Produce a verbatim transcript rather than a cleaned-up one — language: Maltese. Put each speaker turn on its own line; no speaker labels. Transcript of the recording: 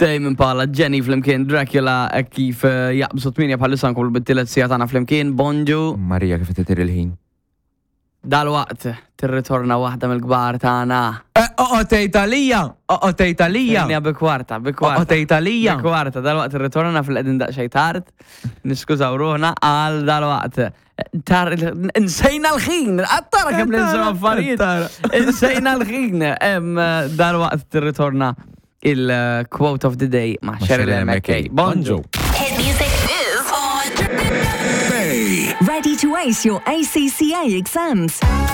Tame Impala, Jenny flimkien, Dracula, hekk kif eh, jaqbżu tmienja bħalissa, nkomplu bit-tielet siegħa tagħna flimkien. Bonġu.
Marija, kif titir il-ħin.
Dalwaqt tirritorna waħda mill-kbar tagħna.
Oqgħod Italija! Oqgħod Italija!
Tgħinja bi kwarta, bi kwarta.
Oqgħod Italija!
Bi kwarta, dalwaqt tirritorna fil-qegħdin daqsxejn tard. Niskużaw ruħna għal dalwaqt. Tar, insejna l-ħin, għattara kemm ninsew affarijiet. Insejna l-ħin. Em, Dalwaqt tirritorna il-quote of the day ma' Cheryl M K. Bonġu.
Hit music is on.
Ready to ace your A C C A exams?